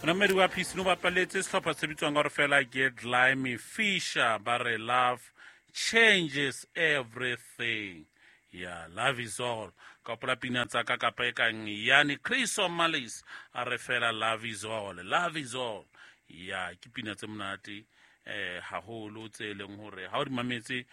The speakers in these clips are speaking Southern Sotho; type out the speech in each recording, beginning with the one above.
Monamedi wa Peace no bapaletse sehlopha se bitswang ka gore fela ke Glimy Fisher, ba re love changes everything. Ya, love is all. Ka hopola pina tsa ka kapa e kang yani Chris O'Malley's, a re fela love is all, love is all. Ya, ke pina tse monate haholo tse leng hore ha o di mametse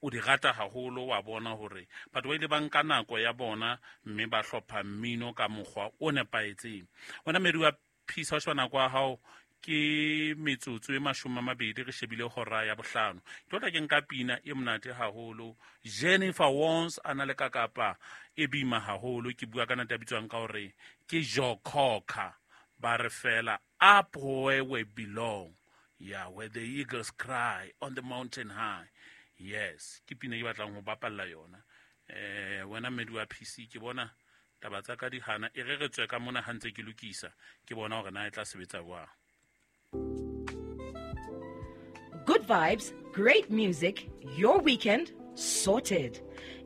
o di rata haholo, wa bona hore batho ba ile ba nka nako ya bona mme ba hlopha mmino ka mokgwa o nepahetseng. Wena mmedi wa Peace, ha o sheba nako ya hao ke metsotso e 20 re shebile hora ya bohlano. Ke tla ke nka pina e monate haholo, Jennifer Wons a na le kakapa e bima haholo. Ke bua ka ntate a bitswang ka hore ke Joe Cocker, ba re fela up where we belong. Yeah, where the eagles cry on the mountain high. Yes, ke pina e batlang ho bapalla yona. Wena mmedi wa PC, ke bona taba tsa ka di hana, e re re tswe ka mona ha ntse ke lokisa, ke bona hore na e tla sebetsa jwang. Good vibes, great music, your weekend sorted.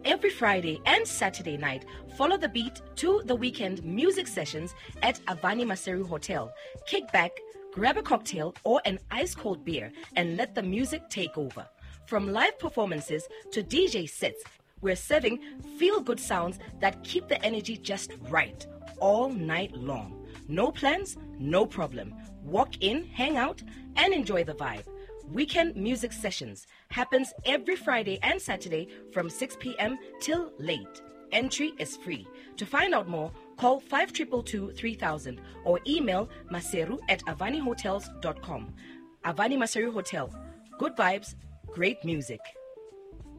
Every Friday and Saturday night, follow the beat to the weekend music sessions at Avani Maseru Hotel. Kick back, grab a cocktail or an ice cold beer and let the music take over. From live performances to DJ sets, we're serving feel-good sounds that keep the energy just right all night long. No plans, no problem. Walk in, hang out, and enjoy the vibe. Weekend Music Sessions happens every Friday and Saturday from 6 p.m. till late. Entry is free. To find out more, call 5222 3000 or email maseru@avanihotels.com. Avani Maseru Hotel. Good vibes, great music.